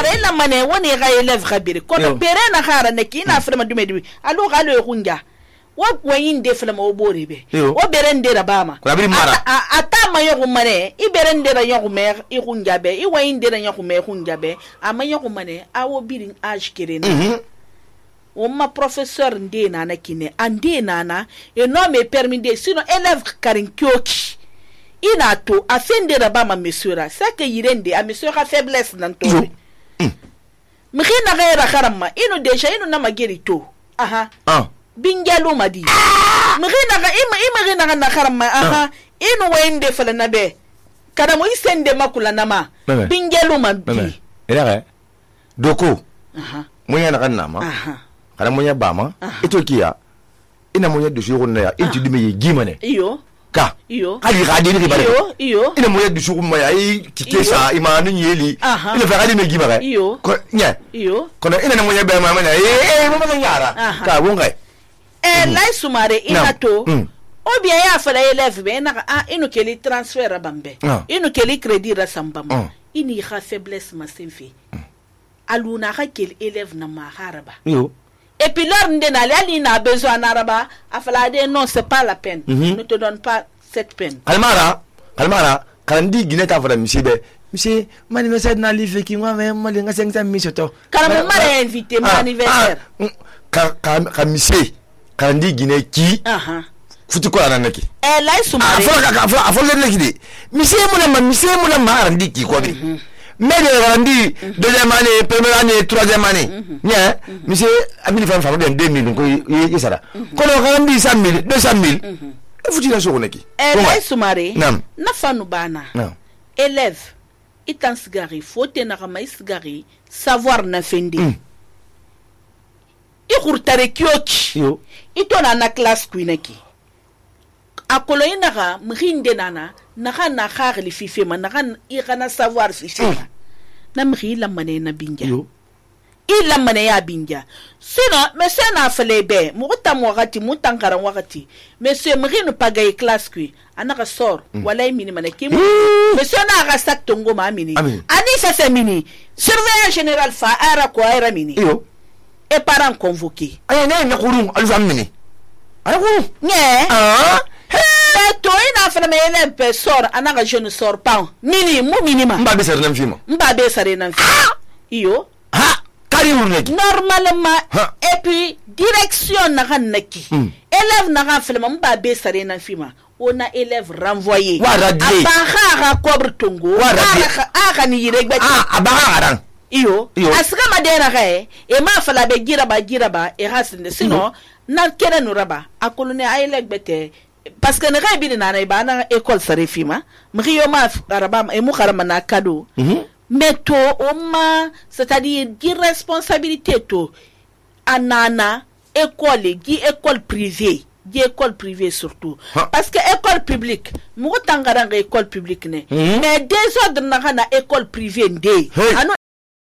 mare la mane woni ga élève khabiri ko pere na khara ne ki na frema dume dume alu galo e kunja wa wayin de frema o boribe o berende ra bama ata ma yogu mane I berende ra yogu mer I kunja be I wayin de ra yogu me kunja be ama yogu mane awo birin age kirena o ma professeur nde nana kine ande nana e no me permis de sinon élève karin kyoki ina to afende ra bama mesura ça que yirende a mesura faiblesse nan to mkhina gaira kharama ino deja ino na mageri to aha bingalo madi mkhina ga ima na kharama aha ino wende fala nabe kada mo isende makula nama bingalo madi ila doko moya na kanama kada moya bama ito kiya ina moya dusu ko na ya inti dime gimane iyo iyo kali gadini ke bare iyo ina moya du suku moya I tikesa imanu nyeli ina fa gadini gi bare ko nya iyo kono ina moya be mama na mo ma nyara ka wonga lai sumare ina to o bien ya fa la élève be na ino keli transfert bambe ino keli crédit rasambam ini kha faiblesse ma senfi aluna kha keli élève na ma haraba iyo. Et puis l'heure n'a a besoin d'arabe, a fallu non, c'est pas la peine. Ne te donne pas cette peine. Kalmara, quand dit Guinée ta femme, monsieur, mon anniversaire n'a livré qui moi même, moi les 500 000 to. Quand mon mari est invité, mon anniversaire. Quand monsieur, quand dit Guinée qui, foutu quoi la naki. Là ils sont mariés. Faut le naki. Monsieur mon mari dit qui quoi. Mais le rendu deuxième année, première année, troisième année. Nya, monsieur, a mis les femmes en 2000, donc il ça là. Quand on rendu 100 000, 200 000, il faut dire ça au neki. Là, Soumare, na fanu bana. Élève, itan sigari, faut tenir ma sigari, savoir na fendi. I kurtare kyoki. Ito na classe kuineki. Akolo inara mrinde nana naka na khari fifema naka igana savoir fifema na mri la mane na binja ila mane ya binja sinon monsieur na falebe muta wakati mutankara wakati monsieur mri no pagaye classe kui anaka sor wala mini manaki monsieur na ga sak tongo ma mini ani ça c'est mini surveillant général fa ara ko era mini et parents convoqués ay na khuru alfam mini ay khuru nye to ina fa me ele pe sor anaka je ne sors pas mini mu minima mba be sare nan fima iyo kari wurneki normalement et puis direction na hanaki élève na ga fele mba be sare nan fima on a élève renvoyé abaha kobre tongo aga ni yiregba abaha ran iyo asika madera ga e ma fala be giraba e hasinde sinon na kere no raba akolone ayelek bete parce que ne rebi na ba na école sarefima mriyo ma araba e mu kharama na cadeau mais to oma c'est-à-dire irresponsabilité to anana école privée surtout parce que école publique mu tangara école publique ne mais désordre na école privée ndé anu